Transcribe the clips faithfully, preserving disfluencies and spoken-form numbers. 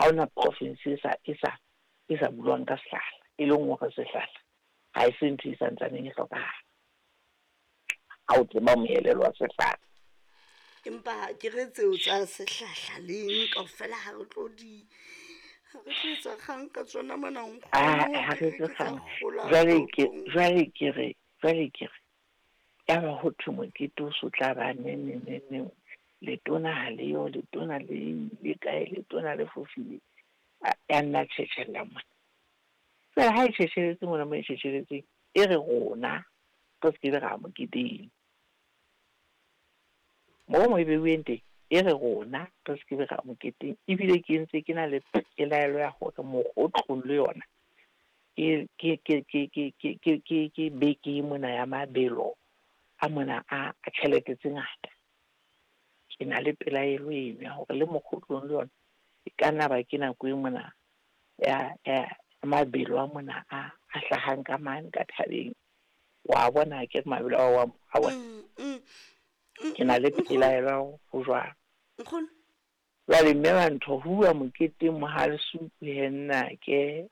Ha hona province e sa e sa e sa buang ka sehlahla, e leng hore sehlahla ha e se ntho e santsaneng e hlokahala. Ha o tseba moelelo wa sehlahla. Empa ke re tseo tsa sehlahla leng kaofela ha re tlo di ha re tlo etsa kgang ka tsona mona nkgono. Ah, ha re ke etse ke tsa kgang. kgola Jwale ke toropong. jwale ke re jwale ke re yaba ho thwe mokete o so tla ba neng neng neng neng. Letona ha le yo, letona le ile kae, letona le fofile. A- Ya nna tjhetjhella mona. Jwale ha e tjhetjhelletse mona mo e tjhetjhelletseng, e re rona re se kebe ra ya moketeng. Moo mo e beuweng teng, e re rona re se kebe ra ya moketeng. Ebile ke ntse ke na le pelaelo ya hore mokgotlong le yona ke ke ke ke ke ke ke ke ke beke mona ya mabelo a mona a a tjhelete tse ngata. Ke na le pelaelo eno ya hore le mokgotlong le yona e ka nna ba ke nako e mona ya ya mabelo a mona a a hlahang ka mane ka thabeng. Wa bona akere mabelo ao wa a bona. Mm, mm, mm, Ke na le nkgono, pelaelo ya hore ho jwalo. nkgono. Jwale mme wa ntho ho uwa moketeng Mohalesuku he nnake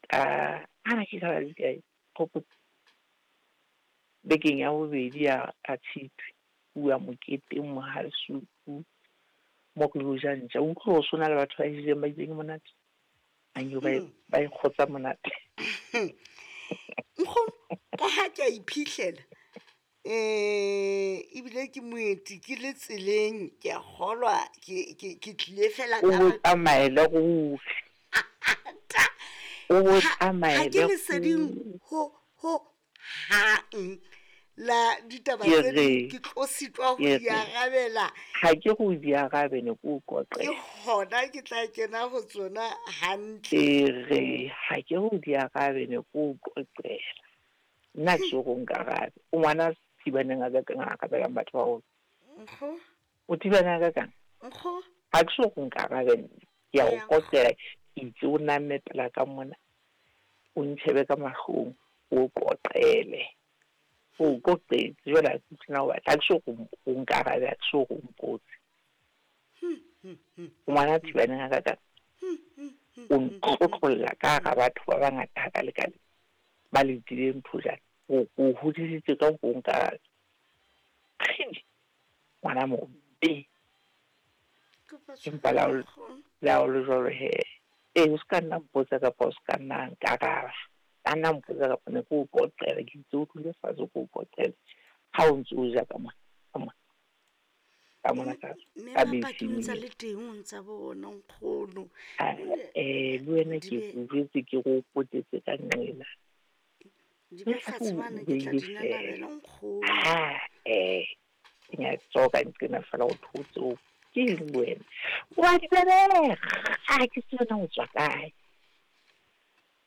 ka ana ke ka la kae Kgopotso. Bekeng ya bobedi ya ya Tshitwe ho uwa moketeng Mohalesuku mo re lo ja ntja. O utlwe hore so na le batho ba e jeleng ba itseng e monate. Anke ba e Hmm. ba e kgotsa monate. Nkgono, ka ha ke a iphihlela eh ebile ke moeti ke le tseleng ke a kgolwa ke ke ke tlile fela O ka bo baka tsamaele ruri. ta O bo ha ha ke tsamaele leseding ruri. ho ho hang la ditaba Ke tse re ding ke tlo sitwa ho ke di re arabela. ha ke re o di arabe ne ke o Ke qoqela. hona ke tla kena ho tsona hantle. Ke re ha ke re o di arabe ne ke o qoqela. Nna ha ke so re o nkarabe. O ngwana thibaneng a kakang a arabelang batho ba baholo. Nkgo, O thibaneng a kakang? nkgo, Ha ke so re o nkarabe nna. Ke a o eya nkgo. qoqela ke itse o namme pela ka mona. O ntjhebe ka mahlong, o qoqele. O qoqetse jwale ha ke utlwe na o batla. Ha ke so re o nkarabe, ha ke so re o mpotse. O ngwana thibaneng a kakang. O ntlotlolla ka hara batho ba bangata hakalekale ba letileng thojana. O o hodisitse ka hore o nkarabe. Kgidi, ngwana mobe. Kopa Empa le ha tshwarelo o nkgono. le ha o le jwalo hee. Ee, o ska nna mpotsa kapa o ska nna nkaraba. Ka nna mpotsa kapa ne ke o qoqela, ke itse o dule fatshe ke o qoqele. Ha o ntso o ja ka mona, ka mona, ka mona Mme ka mme ka Mapaki o beseng ntsa ena. le teng o ntsa bona nkgono. Ah, O ne eh, le wena di ke be o jwetse ke re o potetse ka nqena. di Mme be ha fatshe o mane ke tla beile di feela. nanabela nkgono. Ha eh, ke nyatsa ka nqena feela o thotse o ke eng wena? Wa di belega, ha ke tsebe na o tswa kae.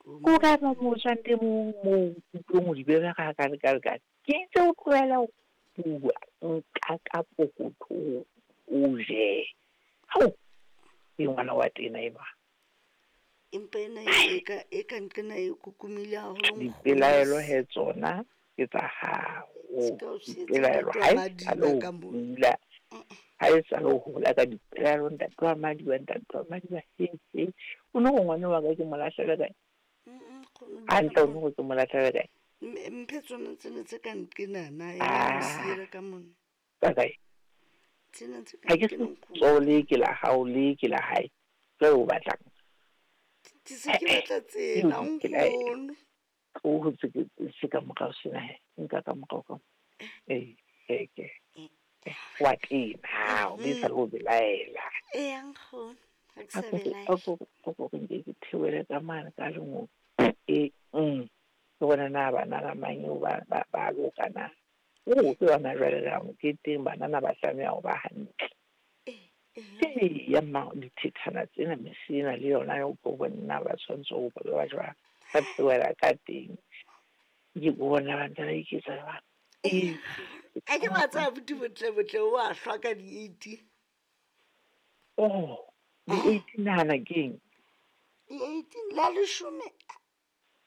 O Ko kae mo ba mo tswang teng moo moo utlweng o di belega hakalekale. Ke itse o tlohela ho bua, nka ka pokotho o je. Hao, ke ngwana wa tena enwa. Empa ena e ka e ka nqena e kokomile haholo nkgono. Dipelaelo he tsona ke tsa hao. Ska o sietse Dipelaelo ntate ha wa e Madiba sale o ka mona. hula, ha e sale o hola ka dipelaelo ntate wa Madiba, ntate wa Madiba he he. O no re ngwana wa ka ke mo lahlele kae? Mm, nkgono Hantle dumela o no re ke mo lahlele kae? Mme mphe tsona tsena tse ka nqenana ena o Ah, siela ka mona. ka kae? Tsena tse ka Ha ke nqena se nkgono. tsoho le ke la hao le ke la hae. Jwale o batlang? Ke se ke Eh, eh, batla ke tsena dipelaelo. nkgono. O hotse ke se ka morao sena he. Nka ka morao ka. Eh, eh ke. Wa tena, ha o be sa le o belaela. Eya nkgono, ha ke A sa ko re belaela. a ko a ko re nke ke theohele ka mane ka lengolo. E mm. Ke bona na banana mang eo ba ba ba loka na. O ke yona jwale re ya moketeng banana ba tlameha ho ba hantle. Eh, eh. Ke ya mma dithethana tsena mese ena le yona ya o tlo bona ba tshwanetse ho ba ba jwang. Ka theohela ka teng. Ke bona ba ntse ba iketsa jwang. Eh, a ke wa tseba abuti botle botle o a hlwa ka di-eighteen. Oh, di-eighteen nahana keng? Di-eighteen la leshome.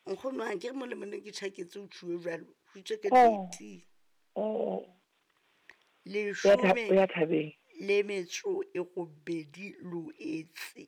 Nkgono ha ke re mo le mone ke tjhaketse o tjhuwe jwalo. Ho itswe ka Oh. di-eighteen. Oh. Leshome O ya thabeng. le metso e robedi Loetse.